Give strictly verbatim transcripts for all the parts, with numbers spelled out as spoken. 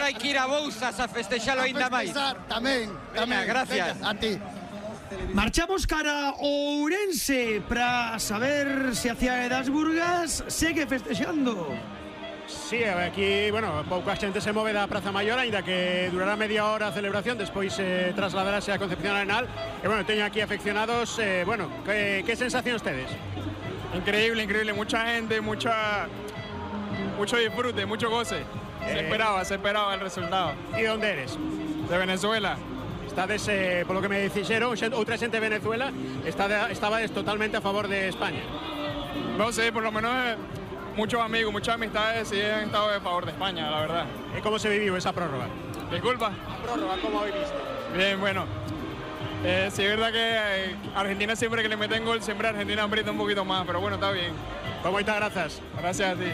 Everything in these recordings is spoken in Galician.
hai que ir a Bouzas a festexalo aínda máis. Tamén, tamén. Gracias. A ti. Marchamos cara ao Ourense para saber se a Cidade das Burgas segue festexando. Sí, aquí, bueno, pouca xente se move da Praza Maior, aínda que durará media hora a celebración, despois eh, trasladarase a Concepción Arenal. E bueno, teño aquí afeccionados, eh, bueno, que, que sensacións tedes? Increíble, increíble, mucha gente, mucha, mucho disfrute, mucho goce. Se Eh. esperaba, se esperaba el resultado. E onde eres? De Venezuela. Estades, eh, polo que me dixeron, outra xente de Venezuela, está, estabades totalmente a favor de España. No sé, por lo menos eh, muchos amigos, muchas amistades sí han estado a favor de España, la verdad. E como se viviu esa prórroga? Disculpa. A prórroga, como viviste? Bien, bueno. Eh, sí, es verdad que eh, Argentina siempre que le meten gol, siempre Argentina aprieta un poquito más, pero bueno, está bien. Pues moitas grazas. Gracias a ti.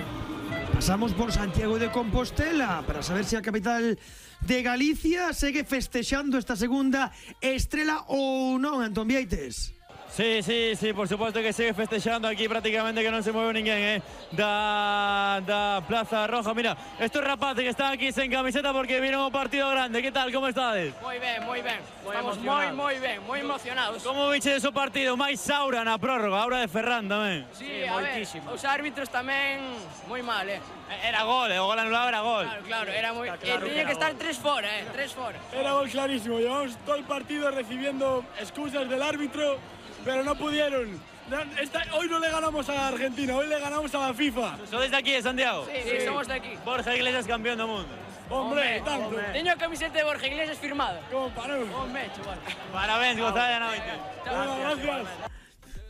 Pasamos por Santiago de Compostela para saber se a capital de Galicia segue festexando esta segunda estrela ou non, Antón Vieites. Sí, sí, sí, por supuesto que sigue festejando aquí prácticamente que no se mueve ninguén, eh, da, da Plaza Roja. Mira, estos rapaces que están aquí sin camiseta porque vieron un partido grande. ¿Qué tal? ¿Cómo estades? Moi ben, moi ben. Moi Estamos moi, emocionados. moi ben, moi emocionados. Como viche ese partido? Máis aura na prórroga, aura de Ferran tamén. Sí, a ver, os árbitros tamén moi mal, eh. Era gol, eh, o gol anulado era gol. Claro, claro, era moi... Está claro eh, que tiña era que estar gol. tres fora, eh, tres fora. Era gol clarísimo, llevamos todo el partido recibiendo excusas del árbitro, pero no pudieron. No, esta- hoy no le ganamos a Argentina, hoy le ganamos a la FIFA. ¿Sois de aquí, de Santiago? Sí, sí, somos de aquí. Borja Iglesias campeón do mundo. Hombre, tanto. Teño a camiseta de Borja Iglesias firmada. Como parou. Hombre, chaval. Parabéns, gozada da noite. Bueno, gracias.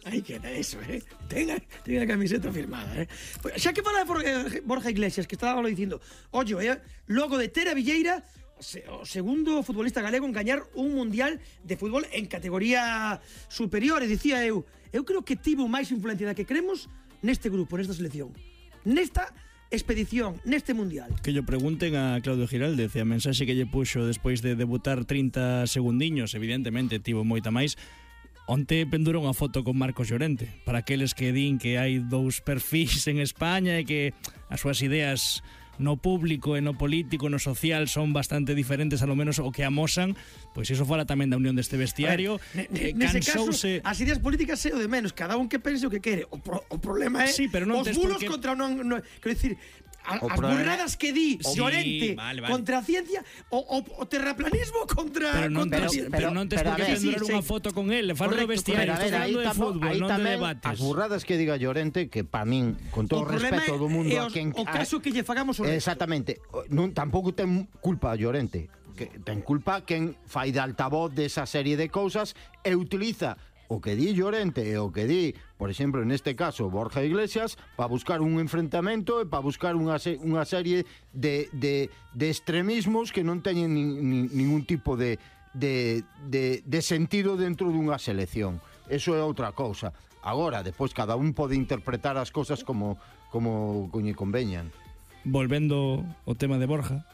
Aí queda eso, eh. Tenga, tenga a camiseta firmada, eh. Pues, xa que fala de Borja- Borja Iglesias, que estaba lo dicindo, ollo, eh, logo de Tere Villeira, se- o segundo futbolista galego en gañar un mundial de fútbol en categoría superior, e dicía eu, eu creo que tivo máis influencia da que creemos neste grupo, nesta selección, nesta expedición, neste mundial. Que lle pregunten a Claudio Giraldez e a mensaxe que lle puxo despois de debutar trinta segundiños, evidentemente tivo moita máis. Onte pendura unha foto con Marcos Llorente, para aqueles que din que hai dous perfis en España e que as súas ideas no público e no político, no social son bastante diferentes, a lo menos o que amosan, pois iso fala tamén da unión deste vestiario. Ne- eh, ne- Nese caso, cansouse... as ideas políticas é o de menos, cada un que pense o que quere. O, pro, o problema é Sí, pero non os tes bulos por que- contra o non, non quero dicir, a, O as problema- burradas que di Sí, Llorente vale, vale. contra a ciencia, o, o, o terraplanismo contra Pero non contra a tes, ciencia. pero non tes por que pendurar unha foto con el, falo do Correcto, vestiario, correcto. estás Pero, a ver, falando de aí tamo- fútbol, aí non de tamén debates. as burradas que diga Llorente, que para min, con todo o problema respeto do mundo é a os- quen o caso que lle fagamos o resto. Exactamente, non tampouco ten culpa a Llorente, que ten culpa quen fai de altavoz desa serie de cousas e utiliza o que di Llorente e o que di, por exemplo, neste caso Borja Iglesias, para buscar un enfrentamento e para buscar unha, se, unha serie de, de, de extremismos que non teñen ni, ni, ningún tipo de, de, de, de sentido dentro dunha selección. Eso é outra cousa. Agora, despois, cada un pode interpretar as cousas como, como coñe conveñan. Volvendo ao tema de Borja,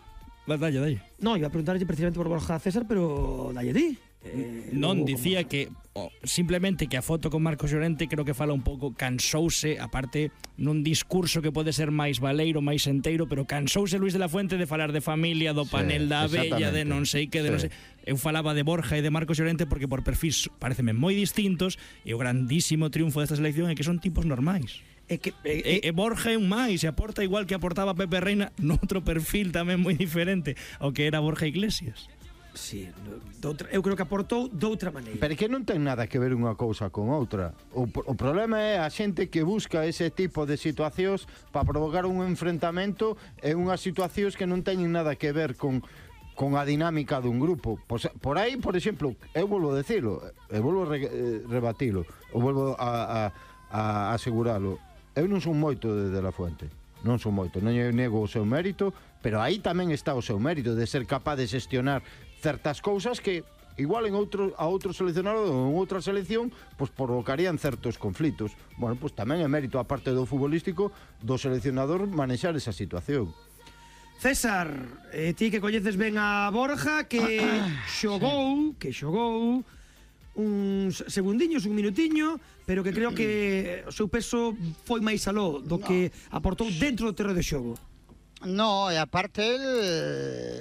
va, dalle, dalle. No, iba a preguntarlle precisamente por Borja César, pero dalle di. Eh, Non, logo, dicía que oh, simplemente que a foto con Marcos Llorente creo que fala un pouco, cansouse, aparte nun discurso que pode ser máis baleiro, máis enteiro, pero cansouse Luis de la Fuente de falar de familia, do Sí, panel da abella, de non sei que, de sí. non sei. Eu falaba de Borja e de Marcos Llorente porque por perfis pareceme moi distintos e o grandísimo triunfo desta selección é que son tipos normais. É que E, e Borja é un máis, e aporta igual que aportaba Pepe Reina noutro perfil tamén moi diferente ao que era Borja Iglesias. Sí, doutra, eu creo que aportou doutra maneira. Pero que non ten nada que ver unha cousa con outra. O, o problema é a xente que busca ese tipo de situacións para provocar un enfrentamento e unhas situacións que non teñen nada que ver con con a dinámica dun grupo. Por, por aí, por exemplo, eu volvo a decirlo, eu volvo a re, eh, rebatilo, eu volvo a, a, a aseguralo. Eu non son moito de, de la Fuente. Non son moito, non eu nego o seu mérito, pero aí tamén está o seu mérito de ser capaz de xestionar certas cousas que igual en outro, a outro seleccionado ou en outra selección pois provocarían certos conflitos. Bueno, pois tamén é mérito a parte do futbolístico do seleccionador manexar esa situación. César, eh, ti que coñeces ben a Borja, que xogou, que xogou uns segundiños, un minutiño, pero que creo que o seu peso foi máis aló do que aportou dentro do terreo de xogo. No, e aparte el